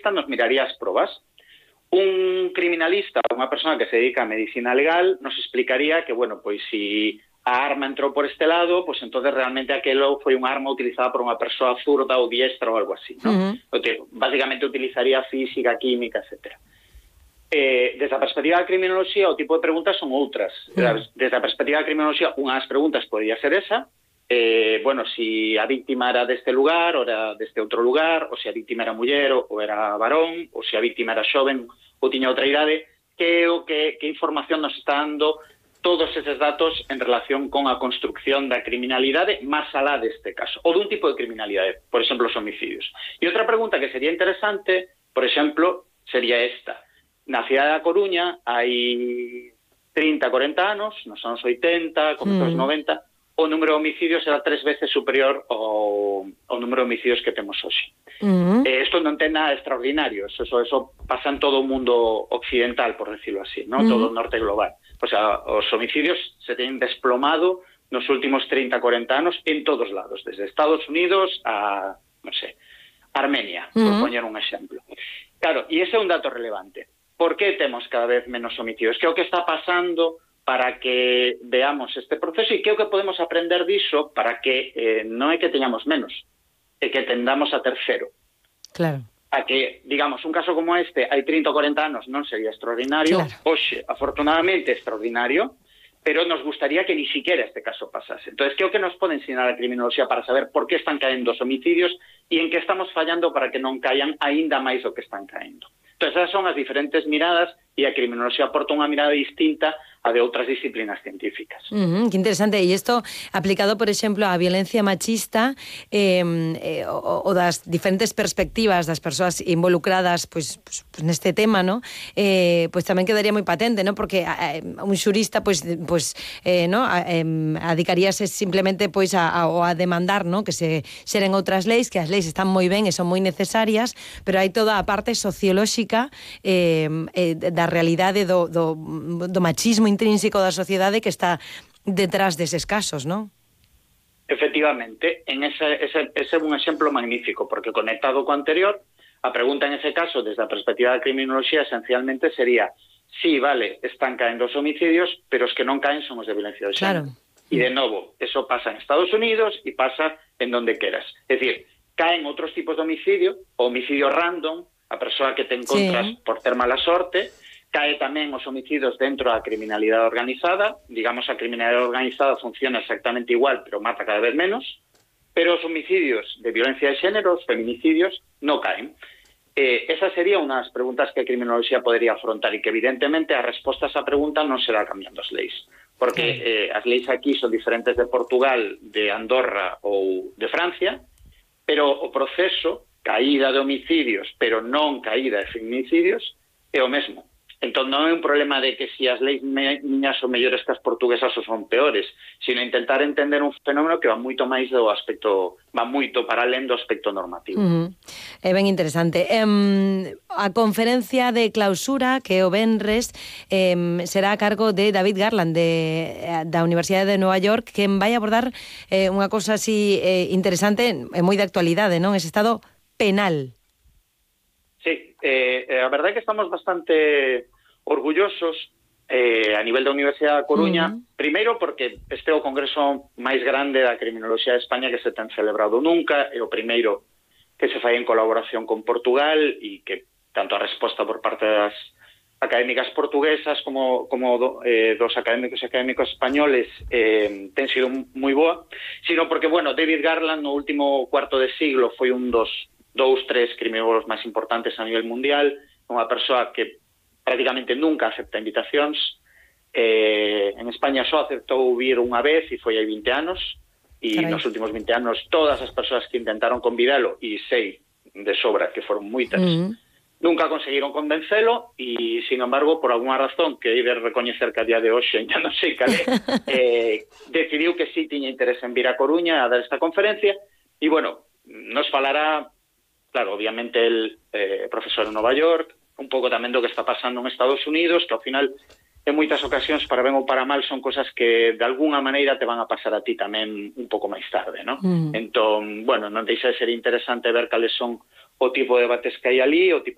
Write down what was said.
nos miraría as probas. Un criminalista, unha persona que se dedica a medicina legal, nos explicaría que, bueno, pois si a arma entrou por este lado, pois entonces realmente aquelo foi unha arma utilizada por unha persoa zurda ou diestra ou algo así, ¿no? Básicamente utilizaría física, química, etcétera. Desde a perspectiva da criminoloxía, o tipo de preguntas son outras. Desde a perspectiva da criminoloxía, unha das preguntas podría ser esa, bueno, si a víctima era deste lugar ou era deste outro lugar, ou se a víctima era muller ou era varón, ou se a víctima era xoven ou tiña outra idade, que información nos está dando todos eses datos en relación con a construcción da criminalidade máis alá deste caso, ou dun tipo de criminalidade, por exemplo, os homicidios. E outra pregunta que sería interesante, por exemplo, sería esta. Na cidade da Coruña hai 30, 40 anos, nos anos 80, comezos 90, o número de homicidios era 3 veces superior ao número de homicidios que temos hoxe. Isto non ten nada extraordinario, eso pasa en todo o mundo occidental, por decirlo así, ¿no? Todo o norte global. O sea, os homicidios se teñen desplomado nos últimos 30, 40 anos en todos lados, desde Estados Unidos a, non sei, Armenia, por poñer un exemplo. Claro, e ese é un dato relevante. Por que temos cada vez menos homicidios? Que é o que está pasando para que veamos este proceso e que é o que podemos aprender diso para que non é que teñamos menos, é que tendamos a ter cero. Claro. A que, digamos, un caso como este hai 30 ou 40 anos non sería extraordinario, hoxe, afortunadamente, extraordinario, pero nos gustaría que ni siquiera este caso pasase. Entonces, que é o que nos pode ensinar a criminoloxía para saber por que están caendo os homicidios e en que estamos fallando para que non caian aínda máis do que están caendo. Entonces, esas son as diferentes miradas e a criminoloxía aporta unha mirada distinta a de outras disciplinas científicas. Que interesante. E isto aplicado, por exemplo, á violencia machista o das diferentes perspectivas das persoas involucradas pois neste tema, ¿no? Pois tamén quedaría moi patente, ¿no? Porque un xurista no, adicaríase simplemente pois a demandar, ¿no? Que se xeren outras leis, que as leis están moi ben e son moi necesarias, pero hai toda a parte sociolóxica da realidade do machismo intrínseco da sociedade que está detrás deses casos, non? Efectivamente, ese é un exemplo magnífico, porque conectado co anterior, a pregunta en ese caso, desde a perspectiva da criminoloxía, esencialmente sería, sí, vale, están caendo os homicidios, pero os que non caen son os de violencia de xénero. E de novo, eso pasa en Estados Unidos e pasa en donde queras. É dicir, caen outros tipos de homicidio, o homicidio random, a persoa que te encontras por ter mala sorte, cae tamén os homicidios dentro da criminalidade organizada, digamos, a criminalidade organizada funciona exactamente igual, pero mata cada vez menos, pero os homicidios de violencia de xénero, os feminicidios, non caen. Esa sería unha das preguntas que a criminoloxía podería afrontar e que evidentemente a resposta a esa pregunta non será cambiando as leis, porque as leis aquí son diferentes de Portugal, de Andorra ou de Francia, pero o proceso, caída de homicidios, pero non caída de feminicidios, é o mesmo. Entón non é un problema de que si as leis miñas son mellores que as portuguesas ou son peores, sino intentar entender un fenómeno que va moito máis do aspecto, va moito para alén do aspecto normativo. É ben interesante. A conferencia de clausura que o venres será a cargo de David Garland da Universidade de Nova York, que vai abordar unha cousa así interesante e moi de actualidade, non? Ese estado penal. Sí, a verdade é que estamos bastante orgullosos a nivel da Universidade da Coruña, primeiro porque este é o congreso máis grande da criminoloxía de España que se ten celebrado nunca, é o primeiro que se fai en colaboración con Portugal e que tanto a resposta por parte das académicas portuguesas como dos académicos e académicos españoles ten sido moi boa, sino porque, bueno, David Garland no último cuarto de siglo foi un dos 2-3 criminólogos máis importantes a nivel mundial, unha persoa que prácticamente nunca acepta invitacións. En España só aceptou vir unha vez e foi hai 20 anos, e nos últimos 20 anos todas as persoas que intentaron convidalo, e sei de sobra que foron moitas, nunca conseguiron convencelo, e, sin embargo, por alguna razón que hai de recoñecer que a día de hoxe ya non sei cal é, decidiu que sí tiña interés en vir a Coruña a dar esta conferencia, e, bueno, nos falará. Claro, obviamente el profesor en Nova York, un pouco tamén do que está pasando en Estados Unidos, que ao final en moitas ocasións, para ben ou para mal, son cosas que de alguna maneira te van a pasar a ti tamén un pouco máis tarde, ¿no? Entón, bueno, non deixa de ser interesante ver cales son o tipo de debates que hai ali, o tipo